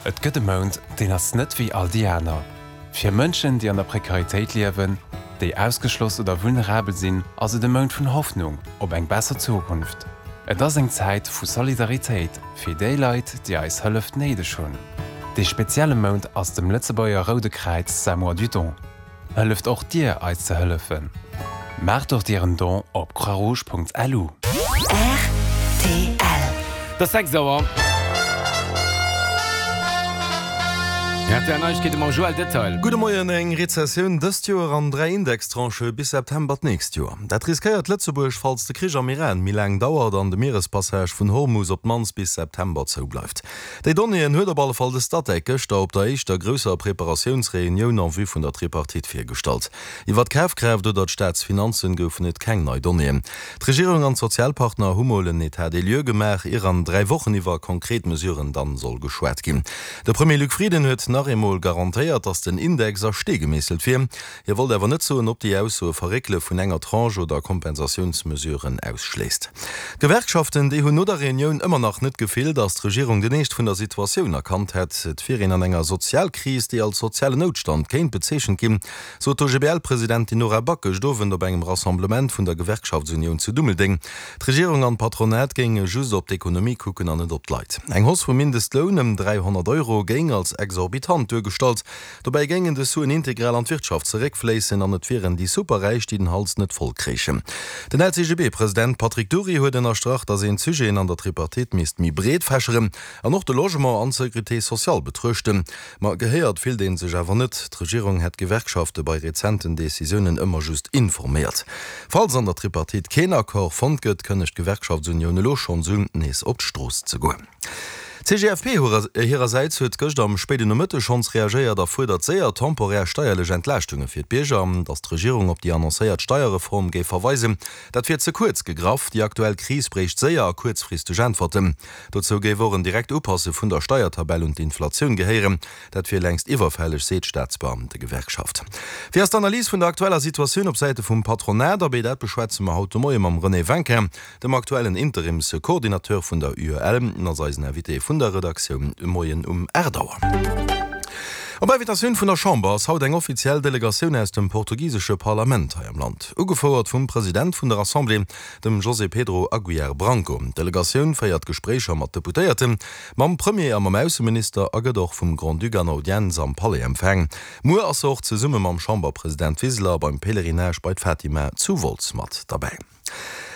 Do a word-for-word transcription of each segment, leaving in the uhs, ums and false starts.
Et gëtt e Mount, deen ass net wéi all déi aner. Fir Mënschen, déi an der Prekaritéit liewen, déi ausgeschloss oder vulnerabel sinn, ass et e Mount vun Hoffnung op eng besser Zukunft. Et ass eng Zäit vu Solidaritéit fir déi Leit, déi eis Hëllef néideg hunn. Dee spezielle Mount ass dem Lëtzebuerger Roude Kräiz säi Mois du Don. Hëlleft och Dir eis ze hëllefen. Maacht och Dir en Don op croixrouge.lu. Rtl. Et ass sechs Auer. Rtl Neiegkeete mam Joël Detail. Gudde Moien, Eng Rezessioun dëst Joer an dräi Indextranchë bis September d'nächst Joer. Dat riskéiert Lëtzebuerg, falls de Krich am Iran méi laang dauert an de Mierespassage vun Hormus op d'mannst bis September zou bleift. Déi Donnéeën huet op alle Fall de Statec gëschter op der éischter grousser Preparatiounsreunioun en vue vun der Tripartite virgestallt. Iwwer d'Kafkraaft oder d'Staatsfinanzen goufen et keng nei Donnéeën. D'Regierung an d'Sozialpartner hu mol en État des lieux gemaach, ier an dräi Wochen iwwer konkret Mesuren dann soll geschwat ginn. De Premier Luc Frieden huet nach eemol garantéiert, datt den Index a Stee gemeesselt wier. Hie wollt awer net soen, ob déi Ausso e Verréckele vun enger Tranche oder Kompensatiounsmesuren ausschléisst. D'Gewerkschaften, déi hunn no der Reunioun ëmmer nach net d'Gefill, datt d'Regierung den Eescht vun der Situatioun erkannt hätt. Et wier een an enger Sozialkris, déi als sozialen Noutstand kéint bezeechent ginn, sot d'OGBL-Presidentin Nora Back gëscht Owend op engem Rassemblement vun der Gewerkschaftsunioun zu Dummeldeng. D'Regierung an d'Patronat géinge just op d'Ekonomie kucken an net op d'Leit. Eng Hausse vum Mindestloun ëm dräihonnert Euro géing als exorbitant duergestallt. Dobäi géingen dës Suen integral an d'Wirtschaft zeréckfléissen an et wieren déi Superräich, déi den Hals net voll kréichen. Den L C G B-President Patrick Dury huet ënnerstrach, datt een d'Sujeten an der Tripartite misst méi breet fächeren an och de Logement an d'Sécurité sociale betruechten. Ma gehéiert fillt ee sech awer net. D'Regierung hätt d'Gewerkschafte bei rezenten Decisiounen ëmmer just informéiert. Falls an der Tripartite keen Accord fonnt gëtt, kënnegt d'Gewerkschaftsunioun elo schonns un, nees op d'Strooss ze goen. D'C G F P hirersäits huet gëscht am spéiden Nomëtteg schonns reagéiert a fuerdert séier temporär steierlech Entlaaschtunge fir d'Bierger. Datt d'Regierung op déi annoncéiert Steierreform géif verweisen, dat wier ze kuerz gegraff. Déi aktuell Kris bréicht séier a kuerzfristeg Äntwerten. Dozou géif och en direkt Upasse vun der Steiertabell un d'Inflatioun gehéieren. Dat wier längst iwwerfälleg, seet d'Staatsbeamtegewerkschaft. Wéi ass d'Analys vun der aktueller Situatioun op Säite vum Patronat? Abee, dat beschwätze mer haut de Moie mam René Winkin, dem aktuellen Interimscoordinateur vun der U E L. En ass eisen Invité vun der Redaktioun de Moien um aacht Auer. Op Invitatioun vun der Chamber ass haut eng offiziell Delegatioun aus dem portugisesche Parlament hei am Land, ugefouert vum President vun der Assemblée, dem José Pedro Aguiar Branco. D'Delegatioun féiert Gespréicher mat Deputéierten, mam Premier a mam Ausseminister a gëtt och vum Grand-Duc an Audienz am Palais empfaang. Muer ass se och zesumme mam Chamberpresident Wiseler beim Pèlerinage bei d'Fatima zu Wolz mat derbäi.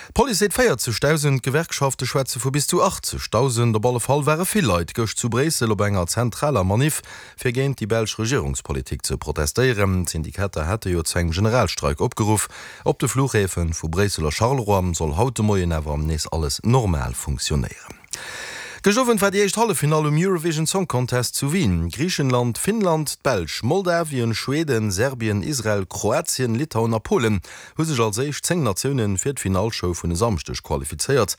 D'Police seet véierzegdausend, d'Gewerkschafte schwätze vu bis zu achtzegdausend. Op alle Fall ware vill Leit gëscht zu Bréissel op enger zentraler Maniff, fir géint déi belsch Regierungspolitik ze protestéieren. D'Syndikater hate jo zu engem Generalstreik opgeruff. Op de Fluchhäfe vu Bréissel a Charleroi soll haut de Moien awer nees alles normal funktionéieren. Gëscht Owend war déi éischt Halleffinall um Eurovision Song Contest zu Wien. Griichenland, Finnland, d'Belsch, Moldawien, Schweden, Serbien, Israel, Kroatien, Litauen a Polen hu sech als éischt zéng Natioune fir d'Finallshow vun e Samschdeg qualifizéiert.